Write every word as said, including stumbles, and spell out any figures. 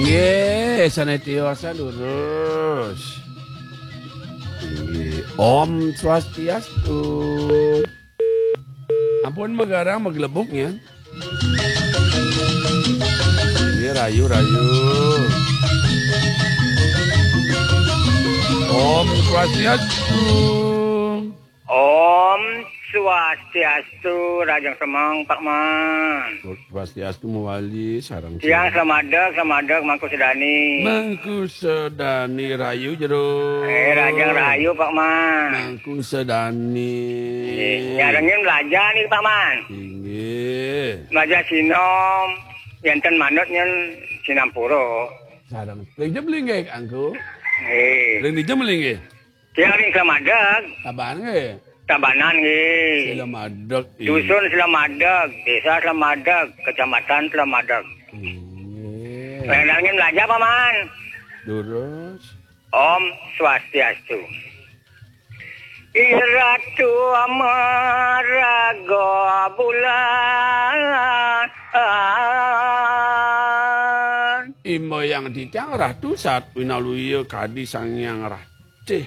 Nggih, sané tiosan lurus. Nggih. Om Swastiastu. Ampun magarang maglebuk ya. Nggih, rayu, rayu. Om Swastiastu. Om Swastiastu, Rajang Semeng, Pak Man. Swastiastu mawali, sareng Tiang selamadeg, selamadeg, Mangku Sedani. Mangku Sedani rayu jero. Eh, Rajang rayu, Pak Man. Mangku Sedani. Nggih, nyarengin belajar nih, Pak Man. Inggih. Belajar sinom, yenten manut nyen sinampura. Sareng. Ring jam linggih, Angku. Nggih. Ring jam linggih. Tiang ring Selamadeg. Tabanan nggih? Tabanan nggih. Selamadeg, iya. Dusun Selamadeg, Desa Selamadeg, Kecamatan Selamadeg. Iya. Rendangnya belajar, Paman. Lurus. Om Swastiastu. Iratu Amaraga Bulan. Imba yang titiang Ratu Satwinaluya kadi Sang Hyang Ratih.